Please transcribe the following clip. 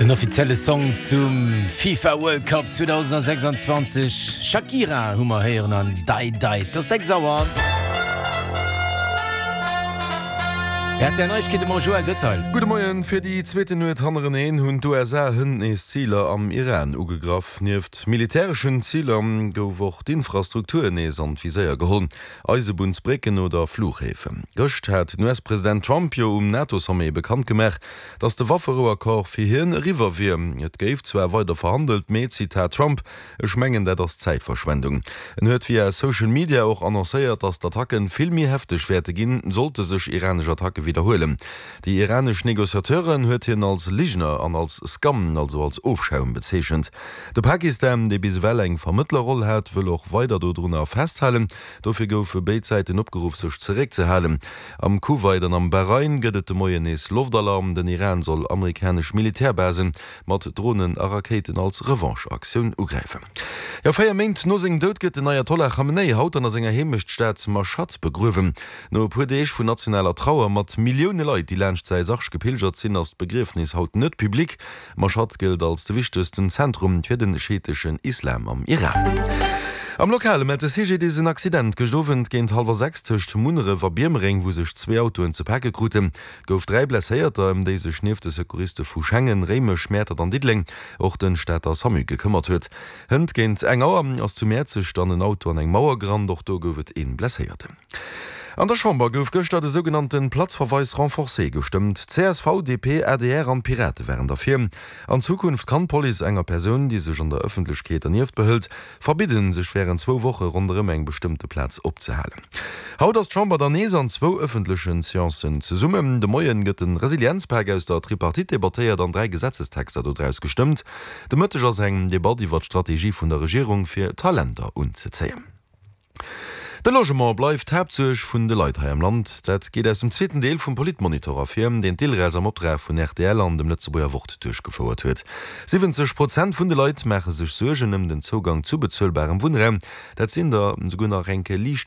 Den offizielle Song zum FIFA World Cup 2026, Shakira hu mer héieren an Dai Dai. Et ass 6 Auer. Rtl Neiegkeete mam Joël Detail. Gudde Moien. Fir déi zweeten Nuet hannereneen hunn d'USA hënt nees Ziler am Iran ugegraff. Nieft militäreschen Ziler gouf och d'Infrastruktur nees an d'Viséier geholl. Eisebunnsbrécken oder Flughäfen. Gëscht hat den US-President Trump jo um NATO-Sommet bekannt gemaach, datt de Wafferouaccord fir hien eriwwer wier. Et géif zwar weider verhandelt, mee, Zitat Trump, Ech mengen, dat ass Zäitverschwendung. En huet via Social Media och annoncéiert, datt d'Attacken vill méi hefteg wäerte ginn, sollte sech iranesch Attacke widderhuelen. Déi iranesch Negociateuren huet hien als Ligner an als Scum, also als Ofschaum bezeechent. De Pakistan, dee bis ewell eng Vermëttlerroll hat, wëll och weider dodrunner festhalen. Dofir goufe béid Säiten opgeruff, sech zeréckzehalen. Am Kuwait an am Bahrain gëtt et de Moien nees Loftalarm. Den Iran soll amerikanesch Militärbasen mat Dronen a Rakéiten als Revanche-Aktioun ugräifen. Jo, 4 Méint no sengem Doud gëtt den Ayatollah Khamenei haut an a senger Heemechtstad Mashhad begruewen. No e puer Deeg vun nationaler Trauer mat Millioune Leit, déi laanscht säi Sarg gepilgert sinn, ass d'Begriefnis haut net public. Mashhad gëllt als de wichtegsten Zentrum fir de schiiteschen Islam am Iran. Am Lokale mellt de CGDIS en Accident gëscht Owend géint hallwer 6 tëscht Munneref a Biermereng, wou sech zwee Autoen ze pake kruten. Et gouf 3 Blesséierter, ëm déi sech nieft de Secouriste vu Schengen, Réimech, Mäertert an Diddeleng och de Stater Samu gekëmmert huet. Hënt géint eng Auer ass zu Mäerzeg dann en Auto an eng Mauer gerannt, och do gouf et ee Blesséierten. An der Chamber gouf gëschter de sougenannte Platzverweis renforcé gestëmmt. Csv, DP, adr an d'Pirate waren derfir. An Zukunft kann d'Police enger Persoun, déi sech an der Ëffentlechkeet dernieft behëlt, verbidden, sech wärend zwou Woche ronderëm eng bestëmmte Plaz opzehalen. Haut ass d'Chamber dann nees an zwou ëffentlechen Seancen zesummen. De Moien gëtt de Resilienzpak aus der Tripartite debattéiert an 3 Gesetzestexter dodraus gestëmmt. De Mëtteg ass eng Debatt iwwer d'Strategie vun der Regierung fir Talenter unzezéien. De Logement bleift d'Haaptsuerg vun de Leit hei am Land. Dat geet aus dem zweeten Deel vum Politmonitor ervir, deen d'ILRES am Optrag vun rtl an dem Lëtzebuerger Wort duerchgefouert huet. 70 Prozent vun de Leit maache sech Suergen ëm den Zougang zu bezuelbarem Wunnraum. Dat sinn der souguer nach eng Kéier liicht.